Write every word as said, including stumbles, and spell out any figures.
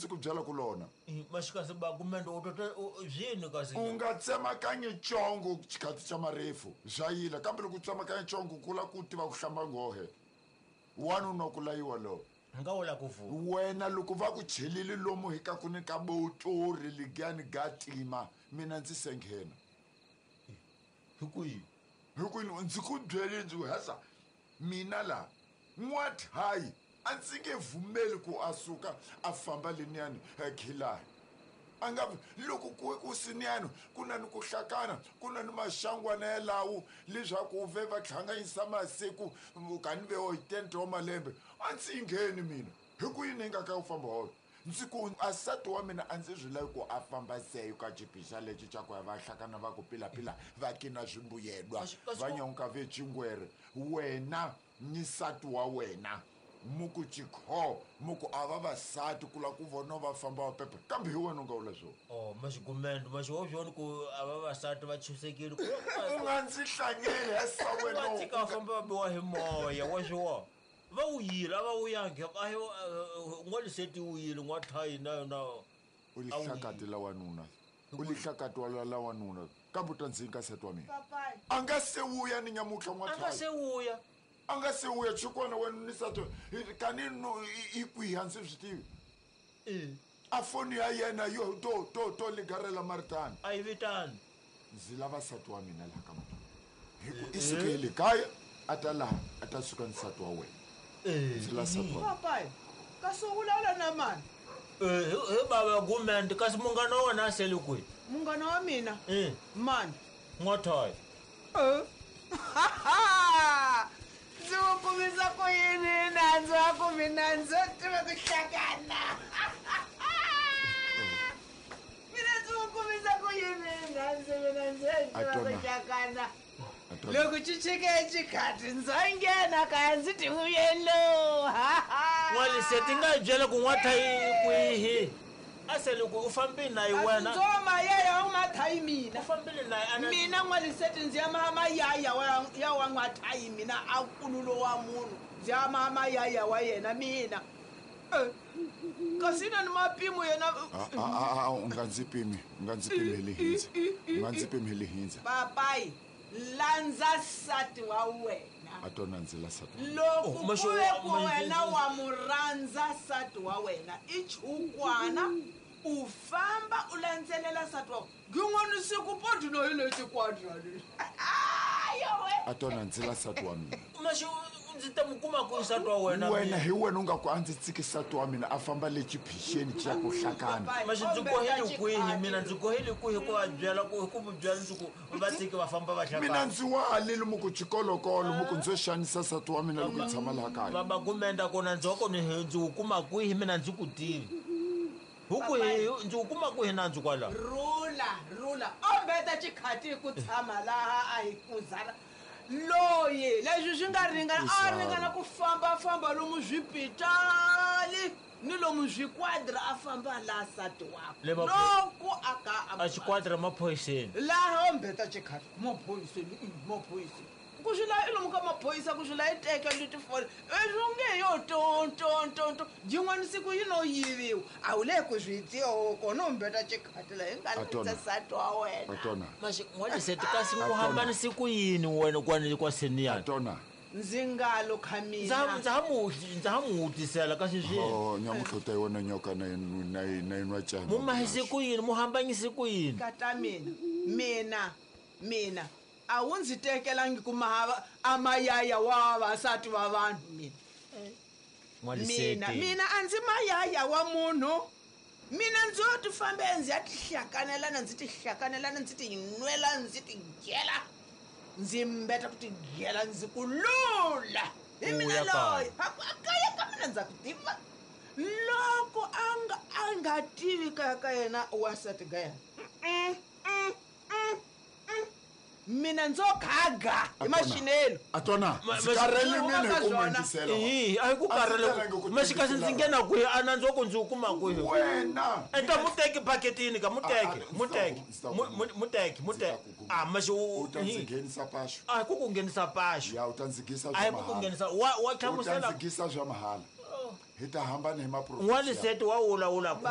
ndzi ku byela ku lona maxikasi ba kumende u tota byini kasi u nga tsemakanyi congo xikhathi xa marefu swa yila kambe loko u tsemakanya congo ku la ku tiva ku hlamba nghohe wanuna ku layiwa lowo nga wula ku vuka wena loko va ku chelile lomu hi ka ku ni ka botori ligani ga tima mina ndzi se nghena hi kwihi hi ku ndzi ku byele ndzi ku hasa mina la n'wathayi a ndzi nge vumeli ku a suka a famba leniyani khilani a nga loko ku ku siniyani ku na ni ku hlakana ku na ni maxangwana yalawo leswaku ve va hlanganyisa masiku kani ve hi tente wa malembe a ndzi ngheni mina hi ku yini nga ka u famba holo ndzi ku a nsati wa mina a ndzi swi lavi ku a famba seyo ka xiphisa lexi xa ku ya va hlakana va ku pilapila va kina swimbuyelwa va nyonka ve chingwere wena ni nsati wa wena muku chikho muku a vavasati ku la ku vona va famba va pepe kambe hi wena u nga vula swona oh maxigumende maxi ku a vavasati va chusekile u nga ndzi hlanyeli hesa wena va tika va famba va biwa hi moya wa swiwa va wuyile a va wuyangi a hi n'waliseti wuyile n'wathayi na yona u lihlakati la wanuna u lihlakati wa la wanuna kambe u ta ndzi nyika nsati wa mina a nga se wuya ni nyamutlha n'wathayi a nga se wuya a nga se wuya chikwana wena ni nsati kani no i kwihi a ndzi swi tivi a foni ya yena yo to to to ligarela maritani a yi vitani ndzi lava nsati wa mina laha ka muthu hi ku i suke hi le kaya a ta laha a ta suka nsati wa wena ndzi la nsati wa papayi kasi u vulavula na mani hi bava gumende kasi munghana wa wena a sele kwihi munghana wa mina mani n'wathayi ndzi wu kumisa ku yini nandzu wa ku mina ndzo tiva ku hlakana mina ndzi wu kumisa ku yini nandzu mina ndzo tiva ku hlakana loko xi chike xikhati ndzo nghena kaya ndzi ti vuyelo n'waliseti nga hi byela ku n'wathayi kwihi a sele ku u fambile na yi wena ndzo mayaya u mathayi mina u fambile na yi mina n'waliseti ndzi ya maha mayaya ya wa n'wathayi mina a nkululo wa munhu ndzi ya maha mayaya wa yena mina kasi na ni mapimo yena u nga ndzi pimi u nga ndzi pimi hi lihindza u nga ndzi pimi hi lihindza papayi landza nsati wa wena a tona ndzi la nsati loko ku ve ku wena wa mu rhandza nsati wa wena i chukwana u famba u landzelela nsati wa wena gin'wana siku podi no hi lexi kwadra lexi a tona ndzi la nsati wa mina maxi ndzi ta mu kuma ku nsati wa wena wena hi wena u nga ku a ndzi tsiki nsati wa mina a famba le xiphixeni xa ku hlakana maxi ndzi kohele kwihi mina ndzi kohele kwihi ku va byela ku ku byela ndzi ku va tsiki va famba va hlakana mina ndzi wa alile muku xikolokolo muku ndzo xanisa nsati wa mina loko hi tshama laha kaya baba gumenda kona ndzi wa kona ndzi wu kuma kwihi mina ndzi ku tivi hi kwihi ndzi wu kuma kwihi nandzu kwalaho rula rula ombeta xikhati ku tshama laha a hi kuzana loyi leswi swi nga ringana a ringana ku fambafamba lomu swipitali ni lomu swikwadra a famba laha nsati wakwe loko a ka a xikwadra maphoyiseni laha ombeta xikhati maphoyiseni maphoyiseni ku swi laha i lomu ka maphorisa ku swi laha i teka letifoni leswi nge yo tontontonto yin'wana siku yi no yiviwa a wu le ku swi tiyo kona umbeta xikhati laha hi nga landza nsati wa wena maxi n'waliseti kasi ku hambanise ku yini wena kwani kwa seniyani ndzi nga lo kha mina ndza ha mu ndza ha mu wutisela kasi swi oh nyamutlha u ta yi wona nyoka na na na yinwa cana mu mahise ku yini mu hambanyise ku yini kata mina mina mina a wu ndzi tekelangi ku mahava a mayaya wa vavasati va vanhu mina mina mina a ndzi mayaya wa munhu mina ndzo ti fambe ndzi ya tihlakanelana ndzi tihlakanelana ndzi ti nwela ndzi ti gela ndzi mbeta ku ti gela ndzi ku lula hi mina loyi a kaya ka mina ndza ku tiva loko a nga a nga tivi kaya ka yena wansati ga yena mina ndzo khaga hi maxinelo a tona ndzi karhele mina hi ku mangisela hi a hi ku karhele maxi kasi ndzi nghena kwihi a nandzu ku ndzi wu kuma kwihi wena enta muteki baketini ka muteki muteki muteki muteki a maxi u ta ndzi nghenisa paxo a hi ku ku nghenisa paxo ya u ta ndzi gisa a hi ku ku nghenisa wa wa hlamusela u ta ndzi gisa swa mahala hi ta hambana hi maprofesa n'waliseti wa wulawula